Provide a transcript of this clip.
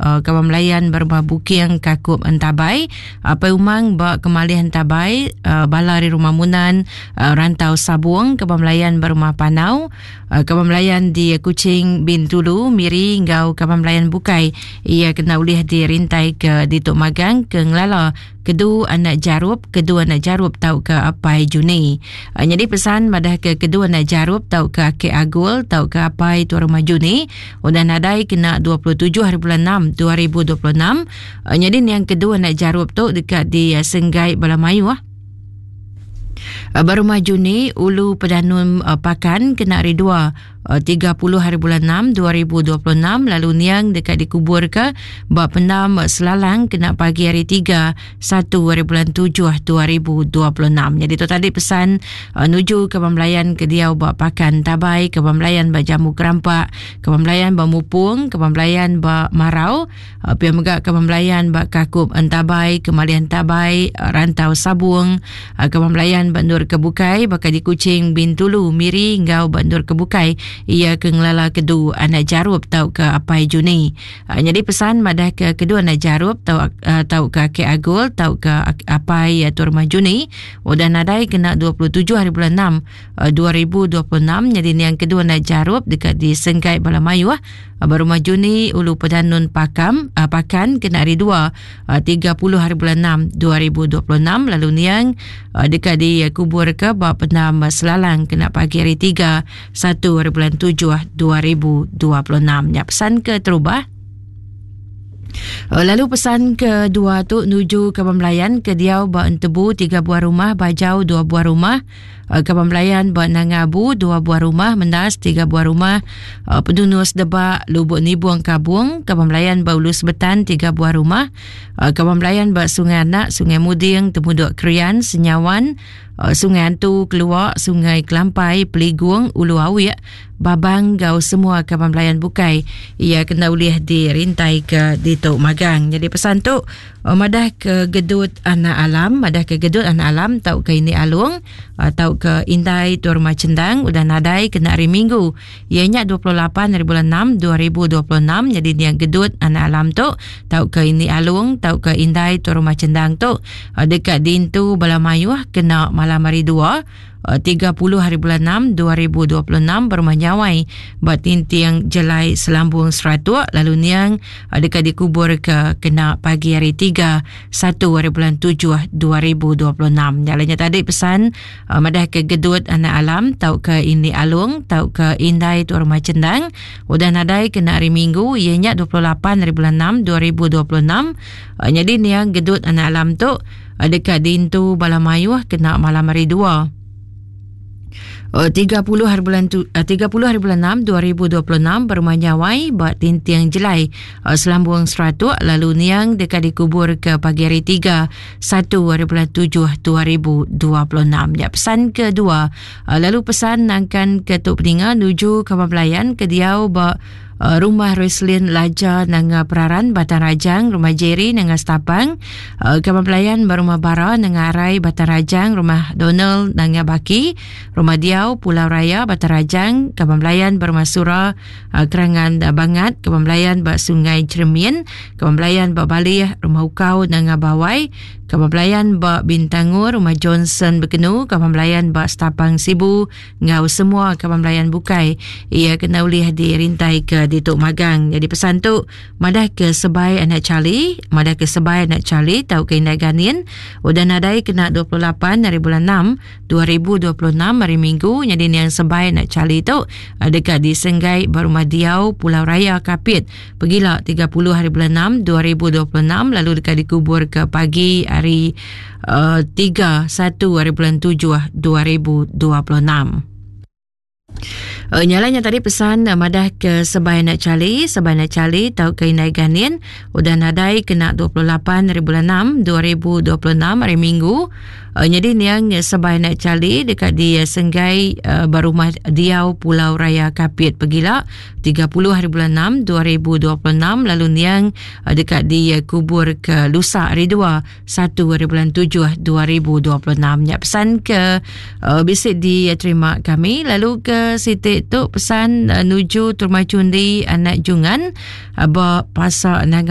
Kaban Belayan ba Rumah Buking Kakup Entabai, Apai Umang ba Kemalih Entabai, bala ari Rumah Munan, Rantau Sabung, Kaban Belayan ba Rumah Panau, Kaban Belayan di Kuching, Bintulu, Miri enggau kaban belayan bukai iya kena ulih dirintai ke ditu magang ke ngelala Kedu anak Jarup, Kedu anak Jarup tauka Apai Juni. Nyadi pesan madahka Kedu anak Jarup tauka Akek Agul tauka Apai Tuan Rumah Juni udah nadai kena 27 hari bulan 6 2026. Nyadi niang Kedu anak Jarup tu deka disenggai bala mayuh ba Rumah Juni, Ulu Pedanum Pakan kena hari dua. 30 hari bulan 6 2026 lalu niang deka dikuburka ba pendam Selalang kena pagi hari 3 1 hari bulan 7 2026. Jadi tu tadi pesan uh, nuju ke pembelayan ke diau ba Pakan Tabai, ke pembelayan ba Jambu Kerampak, ke pembelayan ba Mupung, ke pembelayan ba Marau, uh, pia mega ke pembelayan ba Kakup Entabai, ke Malian Tabai, uh, Rantau Sabung, Kaban belayan ba endur ke bukai baka di Kuching, Bintulu, Miri enggau ba endur ke bukai iya ke ngelala kedu anak Jarup tauka Apai Juni. Nyadi pesan madahka kedu anak Jarup tauka Akik Agul tauka Apai Tuan Rumah Juni udah nadai kena 27 hari bulan 6 2026 nyadi niang kedu anak Jarup deka disenggai bala mayuh ba Rumah Juni Ulu Pedanun Pakam Pakan kena hari 2 30 hari bulan 6 2026 lalu niang deka dikuburka ba pendam Selalang kena pagi hari 3 1 hari bulan 7 2026. Nya pesan ke terubah. Lalu pesan kedua tu nuju ke pembelayan ke diau ba Entebu tiga buah rumah, Bajau dua buah rumah, Kaban Belayan ba Nanga Abu dua buah rumah, Mendas tiga buah rumah, Pedunus Debak, Lubuk Nibung Kabung, Kaban Belayan ba Ulu Sebetan tiga buah rumah, Kaban Belayan ba Sungai Anak, Sungai Muding, Temudok Krian, Senyawan, Sungai Antu, Keluak, Sungai Kelampai, Peligung, Ulu Awik, Babang enggau semua kaban belayan bukai iya kena ulih dirintai ke ditu magang. Jadi pesan tu Oh, madah ke gedut anak alam, madah ke gedut anak alam tau ke ini alung, uh, tau ke indai tuan rumah cendang udah nadai kena hari Minggu. Iya nya 28 hari bulan 6 2026 jadi dia gedut anak alam tu tau ke ini alung tau ke indai tuan rumah cendang tu uh, dekat dintu bala mayuh kena malam hari 2 30 hari bulan 6 2026 berumah Nyawai ba Tinting Jelai Selambung Seratuk lalu niang deka dikubur ke kena pagi hari 3 1 hari bulan 7 2026. Nya nya tadi pesan madah ke gedut anak alam tauka ini alung tauka indai tu rumah cendang udah nadai kena hari Minggu iya nya 28 hari bulan 6 2026 nyadi niang gedut anak alam tu deka diintu bala mayuh kena malam hari dua. 30 hari bulan tu, 30 hari bulan 6 2026 berumah Nyawai ba Tinting Jelai Selambung Seratuk lalu niang deka dikubur ke pagi hari 3 1 hari bulan 7 2026. Ya pesan kedua lalu pesan nangkan ke tu peninga nuju kaban belayan ke diau ba Rumah Roslyn Laja Nanga Peraran Batang Rajang, Rumah Jerry Nanga Stapang, Kaban Pelayan ba Rumah Bara Nanga Arai Batang Rajang, Rumah Donald Nanga Baki, Rumah Diau Pulau Raya Batang Rajang, Kaban Pelayan ba Rumah Sura Kerangan Bangat, Kaban Pelayan ba Sungai Cheremin, Kaban Pelayan ba Balih, Rumah Ukau Nanga Bawai, Kaban Pelayan ba Bintangor, Rumah Johnson Bekenu, Kaban Pelayan ba Stapang Sibu, enggau semua kaban belayan bukai iya kena ulih dirintai ke ditu magang. Jadi pesan tu madah ke sebai anak Charlie, madah ke sebai anak Charlie tauka indai Ganin udah nadai kena 28 hari bulan 6 2026 hari Minggu nyadi niang sebai anak Charlie tu eh, deka disenggai ba rumah diau Pulau Raya Kapit pegila 30 hari bulan 6 2026 lalu deka dikubur ke pagi hari 3 1 hari bulan 7 2026. Nyala nya tadi pesan madah ke sebai anak Charlie, sebai anak Charlie tau ke indai Ganin udah nadai kena 28 hari bulan 6 2026 hari Minggu. Nyadi niang sebai anak Charlie deka disenggai ba rumah diau Pulau Raya Kapit pegila 30 hari bulan 6 2026 lalu niang deka dikubur ke lusa hari 2 1 hari bulan 7 2026 nya pesan ke uh, bisi diterima kami lalu ke siti tu pesan uh, nuju Turma Cundi anak Jungan uh, ba pasar Nanga.